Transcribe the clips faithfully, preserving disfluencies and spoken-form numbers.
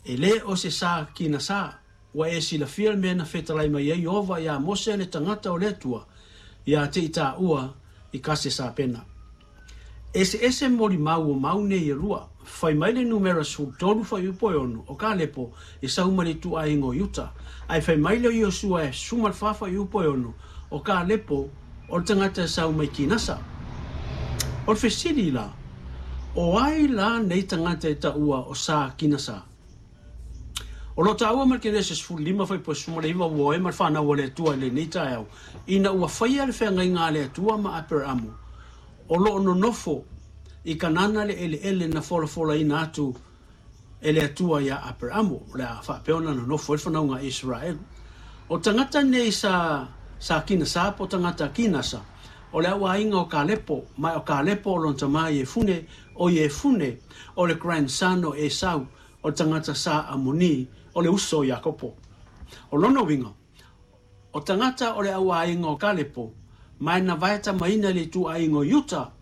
E lē o se sa Kinasa, ua e silafia le mea na fetalai mai ai Ieova iā Mose le tagata o le Atua, ia te i taua i Kasesapena. Eseese molimau o mau nei e lua. Fai mai le numera sefulu tolu fuaiupu e ono, o Kalepo e sau mai le ituaiga o Iuta. Ae fai mai le Iosua e sefulu ma le fa fuaiupu e ono, o Kalepo o le tagata e sau mai Kinasa. O le fesili la, o ai la nei tagata e taua o sa Kinasa? O lo o taua ma le Kenese sefulu lima fuaiupu e sefulu ma le iva ua o ai ma le fanau a le Atua i lenei taeao, ina ua faia le feagaiga a le Atua ma Aperamo, o lo o nonofo i Kanana le eleele na folafolaina atu e le Atua iā Aperamo, o le a faapea ona nonofo ai le fanauga a Iseraelu. O tagata nei sa sa Kinasa po o tagata Kinasa, o le auaiga o Kalepo, ma o Kalepo o lona tama Iefune, o Iefune o le grandson o Esau, o le tagata sa Amoni, o le uso o Iakopo. O lona uiga, o tagata o le auaiga o Kalepo, ma e na vaetamaina i le ituaiga o Iuta,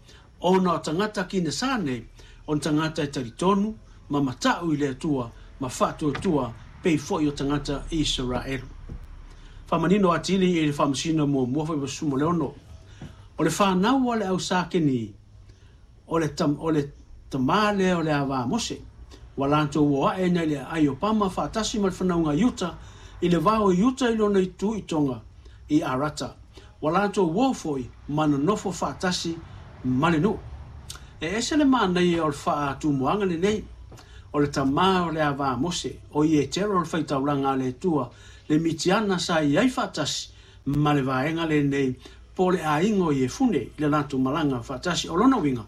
ona o tagata Kinasa nei, o ni tagata e talitonu ma mata'u i le Atua ma faatuatua pei foi o tagata Iseraelu. Faamanino atili i le Faamasino muamua foi ma le ono. O le fanau a le au sa Keni, o le, tam, o le tamā lea o le ava a Mose, ua latou o a'e nei le aai o Pama faatasi ma le fanauga Iuta i le vao o Iuta i lona itu i Tonga i Arata. Ua latou uo foi ma nonofo faatasi ma le nuu. E ese le manaia o le faatumuaga lenei, o le tamā o le ava a Mose, o Ietero le faitaulaga a le Atua, le Mitiana sa i ai faatasi ma le vaega lenei po o le aiga o Iefune i le latou malaga faatasi. O lona uiga,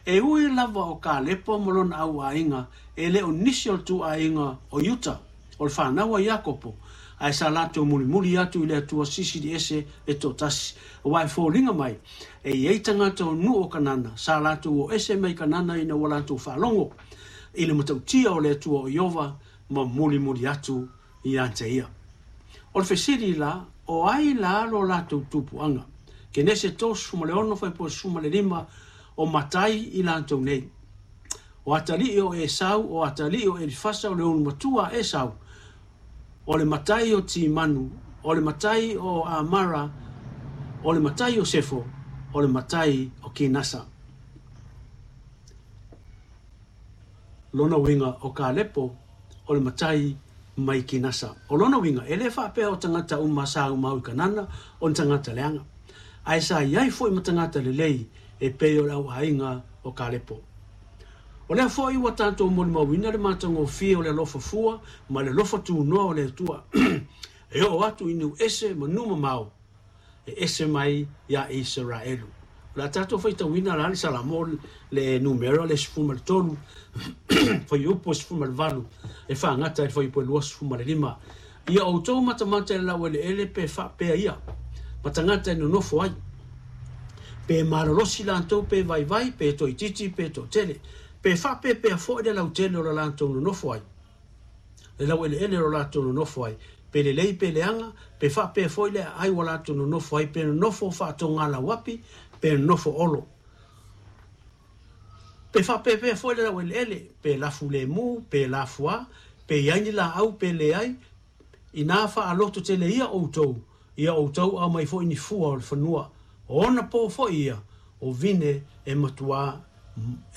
e ui lava o Kalepo ma lona auaiga e le o nisi o le tuaiga o Iuta, o le fanau a Iakopo, ae sa latou mulimuli atu i le Atua Silisili Ese e toatasi. Aua e foliga mai, e i ai tagata o nuu o Kanana, sa latou o ese mai Kanana ina ua latou faalogo i le matautia o le Atua o Ieova ma mulimuli atu ia te ia. O le fesili la, o ai la lo latou tupuaga? Kenese tolusefulu ma le ono fuaiupu e sefulu ma le lima, o matai i latou nei. O atalii o Esau, o atalii o Elifasa, o le ulumatua a Esau, o le matai o Timanu, o le matai o Amara, o le matai o Sefo, o le matai o Kinasa. Lona uiga o Kalepo, o le matai mai Kinasa. O lona uiga, e le faapea o tagata uma sa aumau i Kanana o ni tagata leaga, ae sa i ai foi ma tagata lelei e pei o le auaiga o Kalepo. O lea foi ua tatou molimauina le matagofie o le alofa fua ma le alofa tunoa o le Atua e oo atu i nuu ese ma nuu mamao e ese mai iā Iseraelu. O le a tatou faitauina la le Salamo le numera le sefulu ma le tolu fuaiupu e sefulu ma le valu e faagata i le fuaiupu e luasefulu ma le lima. Ia outou matamata i le laueleele pe faapea ia ma tagata e nonofo ai, pe malolosi latou pe vaivai, pe toaitiiti pe toatele, pe faapepea foi le lautele o le latou nonofo ai, le laueleele o le latou nonofo ai, pe lelei pe leaga, pe faapea foi le aai ua latou nonofo ai, pe nonofo faatogalauapi, pe nonofo olo, pe faapepea foi le laueleele, pe lafu lemu, pe lafuā, pe i ai ni laau, pe leai, inā faalototele ia outou, ia outou aumai foi ni fua o le fanua, o ona po foi ia, o vine e matuā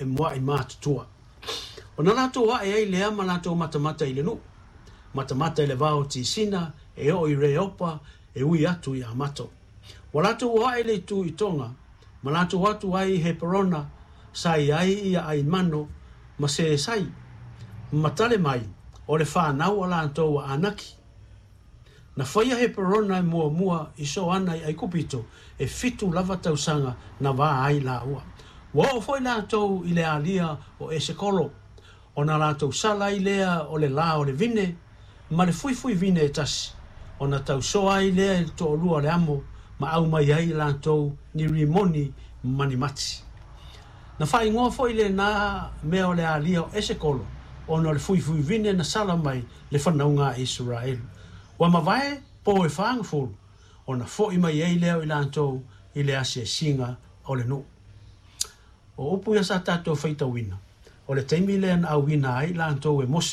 e muaʻi matutua. Ona latou aʻe ai lea ma latou matamata i le nuu, matamata i le vao o Tisina, e oo i Reopa, e ui atu i Amato. Ua latou o aʻe i le itu i Tonga, ma latou atu ai i Heperona, sa i ai ia Aimano ma Sesai, ma Talemai, o le fanau a latou a Anaki. Na faia Heperona e muamua i Soana i Aikupito, e fitu lava tausaga na va ai laua. Ua oo foi latou i le alia o Esekolo, ona latou sala ai lea o le la o le vine ma le fuifui vine e tasi, ona tausoa ai lea i le toalua o le amo ma aumai ai i latou ni rimoni ma ni mati. Na faaigoa foi lenā mea o le alia o Esekolo, ona o le fuifui vine na sala mai le fanauga a Iseraelu. Ua mavae po e fa gafulu, ona foʻi mai ai lea o i latou i le asiasiga o le nuu. O upu ia sa tatou faitauina, o le taimi lea na auina ai latou e Mose